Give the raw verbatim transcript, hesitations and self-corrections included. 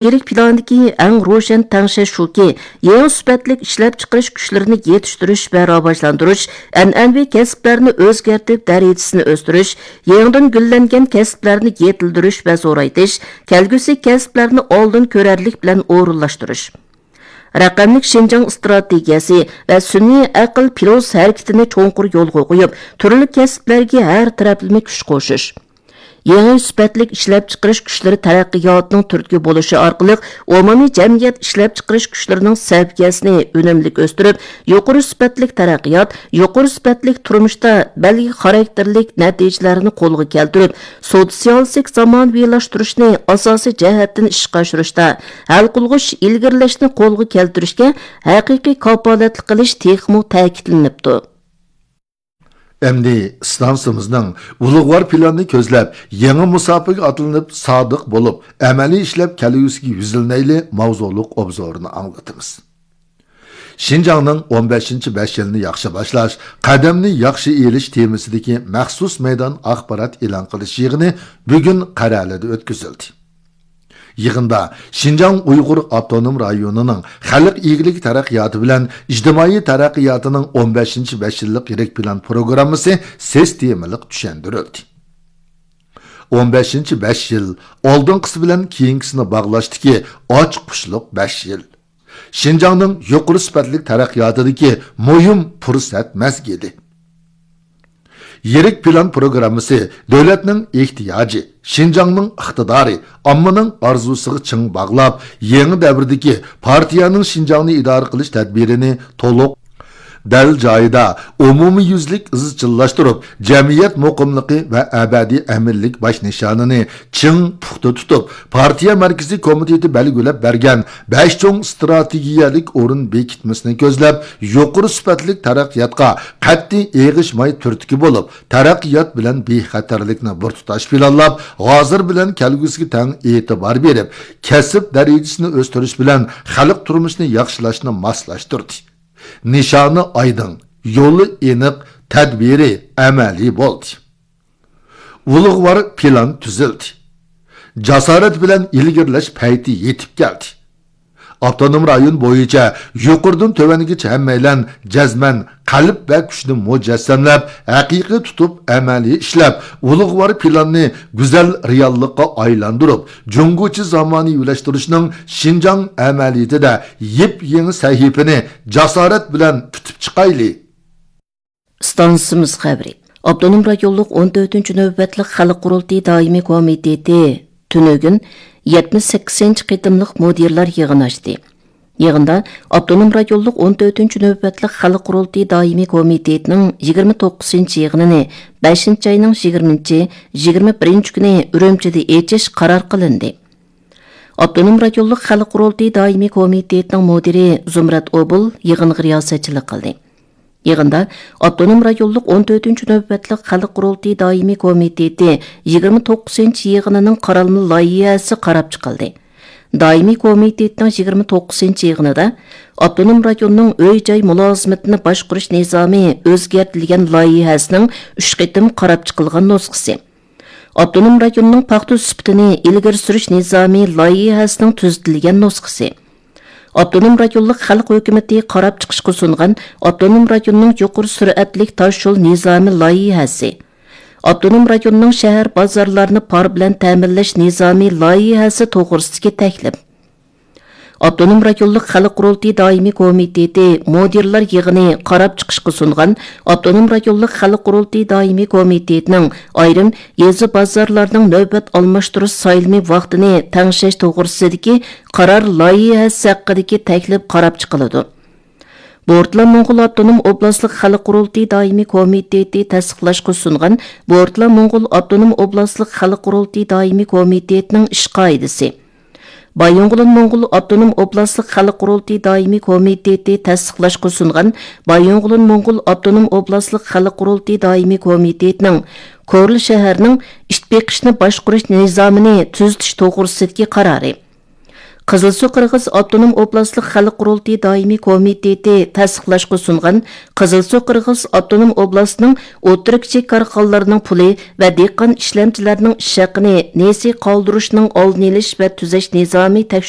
يىللىق پىلاندىكى ئەڭ روشەن تەڭشەش شۇكى، يېڭى سۈپەتلىك ئىشلەپچىقىرىش كۈچلىرىنى يېتىشتۈرۈش ۋە راۋاجلاندۇرۇش، ئەنئەنىۋى كەسىپلەرنى ئۆزگەرتىپ دەرىجىسىنى ئۆستۈرۈش، يېڭىدىن گۈللەنگەن كەسىپلەرنى يېتىلدۈرۈش ۋە زورايتىش، كەلگۈسى كەسىپلەرنى ئالدىن كۆرەرلىك بىلەن ئورۇنلاشتۇرۇش. رەقەملىك شىنجاڭ ئىستراتېگىيەسى ۋە سۈنئىي ئەقىل پىلوس ھەرىكىتىنى چوڭقۇر يولغا قويۇپ، تۈرلۈك كەسىپلەرگە ھەر تەرەپلىمە كۈچ قوشۇش. يېڭى سۈپەتلىك ئىشلەپچىقىرىش كۈچلىرى تەرەققىياتىنىڭ تۈرتكە بولۇشى ئارقىلىق ئومۇمىي جەمئىيەت ئىشلەپچىقىرىش كۈچلىرىنىڭ سەۋىيەسىنى ئۈنۈملۈك ئۆستۈرۈپ، يۇقىرى سۈپەتلىك تەرەققىيات، يۇقىرى سۈپەتلىك تۇرمۇشتا بەلگە خاراكتېرلىك نەتىجىلەرنى قولغا كەلتۈرۈپ، سوتسىيالىستىك زامانىۋىلاشتۇرۇشنى ئاساسىي جەھەتتىن ئىشقا ئاشۇرۇشتا ھەل قىلغۇچ ئىلگىرىلەشنى قولغا كەلتۈرۈشكە ھەقىقىي كاپالەتلىك قىلىش تېخىمۇ تەكىتلىنىپتۇ. ئەمدى ئىستانسىمىزنىڭ ئۇلۇغۋار پىلانىنى كۆزلەپ، يېڭى مۇساپىگە ئاتلىنىپ، سادىق بولۇپ، ئەمەلىي ئىشلەپ كەلگۈسىگە يۈزلىنەيلى ماۋزۇلۇق ئوبزورىنى ئاڭلىتىمىز. شىنجاڭنىڭ ئون بەشىنچى بەش يىلنى ياخشى باشلاش، قەدەمنى ياخشى ئېلىش تېمىسىدىكى مەخسۇس مەيدان ئاخبارات ئېلان قىلىش يىغىنى بۈگۈن قەرەلىدە ئۆتكۈزۈلدى. يىغىندا شىنجاڭ ئۇيغۇر ئاپتونوم رايونىنىڭ خەلق ئىگىلىكى تەرەققىياتى بىلەن ئىجتىمائىي تەرەققىياتىنىڭ ئون بەشىنچى بەش يىللىق يىرىك پىلان پروگراممىسى سىستېمىلىق چۈشەندۈرۈلدى. ئون بەشىنچى بەش يىل ئالدىنقىسى بىلەن كېيىنكىسىنى باغلاشتىكى ئاچقۇچلۇق بەش يىل. شىنجاڭنىڭ يۇقىرى سۈپەتلىك تەرەققىياتىدىكى مۇھىم پۇرسەت مەزگىلى. يىرىك پىلان پروگراممىسى دۆلەتنىڭ ئېھتىياجى، شىنجاڭنىڭ ئىقتىدارى، ئاممىنىڭ ئارزۇسىغا چىڭ باغلاپ، يېڭى دەۋردىكى پارتىيەنىڭ شىنجاڭنى ئىدارە قىلىش تەدبىرىنى تولۇق، دەل جايىدا، ئومۇميۈزلۈك ئىزچىللاشتۇرۇپ، جەمئىيەت مۇقىملىقى ۋە ئەبەدىي ئەمىنلىك باش نىشانىنى چىڭ پۇختا تۇتۇپ، پارتىيە مەركىزىي كومىتېتى بەلگىلەپ بەرگەن بەش چوڭ ئىستراتېگىيەلىك ئورۇن بېكىتمىسىنى كۆزلەپ، يۇقىرى سۈپەتلىك تەرەققىياتقا قەتئىي ئېغىشماي تۈرتكە بولۇپ، تەرەققىيات بىلەن بىخەتەرلىكنى بىر تۇتاش پىلانلاپ، ھازىر بىلەن كەلگۈسىگە تەڭ ئېتىبار بېرىپ، كەسىپ دەرىجىسىنى ئۆستۈرۈش بىلەن خەلق تۇرمۇشىنى ياخشىلاشنى ماسلاشتۇردى. نىشانى ئايدىڭ، يولى ئېنىق، تەدبىرى ئەمەلىي بولدى. ئۇلۇغۋار پىلان تۈزۈلدى. جاسارەت بىلەن ئىلگىرىلەش پەيتى يېتىپ كەلدى. ئاپتونوم رايون بويىچە يۇقىرىدىن تۆۋەنگىچە ھەممەيلەن جەزمەن قەلب ۋە كۈچنى مۇجەسسەملەپ، ھەقىقىي تۇتۇپ، ئەمەلىي ئىشلەپ، ئۇلۇغۋار پىلاننى گۈزەل رېئاللىققا ئايلاندۇرۇپ، جۇڭگوچە زامانىۋىلاشتۇرۇشنىڭ شىنجاڭ ئەمەلىيىتىدە يېپيېڭى سەھىپىنى جاسارەت بىلەن پۈتۈپ چىقايلى. ئىستانسىمىز خەۋىرى. ئاپتونوم رايونلۇق ئون تۆتىنچى نۆۋەتلىك خەلق قۇرۇلتىيى دائىمىي كومىتېتى تۈنۈگۈن يەتمىش سەككىزىنچى قېتىملىق مۇدىرلار يىغىنى ئاچتى. يىغىندا ئاپتونوم رايونلۇق ئون تۆتىنچى نۆۋەتلىك خەلق قۇرۇلتىيى دائىمىي كومىتېتىنىڭ يىگىرمە توققۇزىنچى يىغىنىنى بەشىنچى ئاينىڭ يىگىرمىنچى، يىگىرمە بىرىنچى كۈنى ئۈرۈمچىدە ئېچىش قارار قىلىندى. ئاپتونوم رايونلۇق خەلق قۇرۇلتىيى دائىمىي كومىتېتىنىڭ مۇدىرى زۇمرەت ئوبۇل يىغىنغا رىياسەتچىلىك قىلدى. يىغىندا ئاپتونوم رايونلۇق ئون تۆتىنچى نۆۋەتلىك خەلق قۇرۇلتىيى دائىمىي كومىتېتى يىگىرمە توققۇزىنچى يىغىنىنىڭ قارالما لايىھەسى قاراپ چىقىلدى. دائىمىي كومىتېتنىڭ يىگىرمە توققۇزىنچى يىغىنىدا ئاپتونوم رايوننىڭ ئۆي-جاي مۇلازىمىتىنى باشقۇرۇش نىزامى ئۆزگەرتىلگەن لايىھەسىنىڭ ئۈچ قېتىم قاراپ چىقىلغان نۇسخىسى، ئاپتونوم رايوننىڭ پاختا سۈپىتىنى ئىلگىرى سۈرۈش نىزامى لايىھەسىنىڭ تۈزىتىلگەن نۇسخىسى، ئاپتونوم رايونلۇق خەلق ھۆكۈمىتى قاراپ چىقىشقا سۇنغان ئاپتونوم رايوننىڭ يۇقىرى سۈرئەتلىك تاشيول نىزامى لايىھەسى، ئاپتونوم رايوننىڭ شەھەر بازارلارنى پار بىلەن تەمىنلەش نىزامى لايىھەسى توغرىسىدىكى تەكلىپ. ئاپتونوم رايونلۇق خەلق قۇرۇلتىيى دائىمىي كومىتېتى مۇدىرلار يىغىنى قاراپ چىقىشقا سۇنغان ئاپتونوم رايونلۇق خەلق قۇرۇلتىيى دائىمىي كومىتېتىنىڭ ئايرىم يېزا بازارلارنىڭ نۆۋەت ئالماشتۇرۇش سايلىمى ۋاقتىنى تەڭشەش توغرىسىدىكى قارار لايىھەسى ھەققىدىكى تەكلىپ قاراپ چىقىلىدۇ. بورتالا موڭغۇل ئاپتونوم ئوبلاستلىق خەلق قۇرۇلتىيى دائىمىي كومىتېتى تەستىقلاشقا سۇنغان بورتالا موڭغۇل ئاپتونوم ئوبلاستلىق خەلق قۇرۇلتىيى دائىمىي كومىتېتىنىڭ ئىش قائىدىسى، بايىنغولىن موڭغۇل ئاپتونوم ئوبلاستلىق خەلق قۇرۇلتىيى دائىمىي كومىتېتى تەستىقلاشقا سۇنغان بايىنغولىن موڭغۇل ئاپتونوم ئوبلاستلىق خەلق قۇرۇلتىيى دائىمىي كومىتېتىنىڭ كورلا شەھەرنىڭ ئىت بېقىشنى باشقۇرۇش نىزامىنى تۈزىتىش توغرىسىدىكى قارارى، قىزىلسۇ قىرغىز ئاپتونوم ئوبلاستلىق خەلق قۇرۇلتىيى دائىمىي كومىتېتى تەستىقلاشقا سۇنغان قىزىلسۇ قىرغىز ئاپتونوم ئوبلاستىنىڭ ئوتتۇرا، كىچىك كارخانىلارنىڭ پۇلى ۋە دېھقان ئىشلەمچىلەرنىڭ ئىش ھەققىنى نېسى قالدۇرۇشنىڭ ئالدىنى ئېلىش ۋە تۈزەش نىزامى تەكشۈرۈلدى.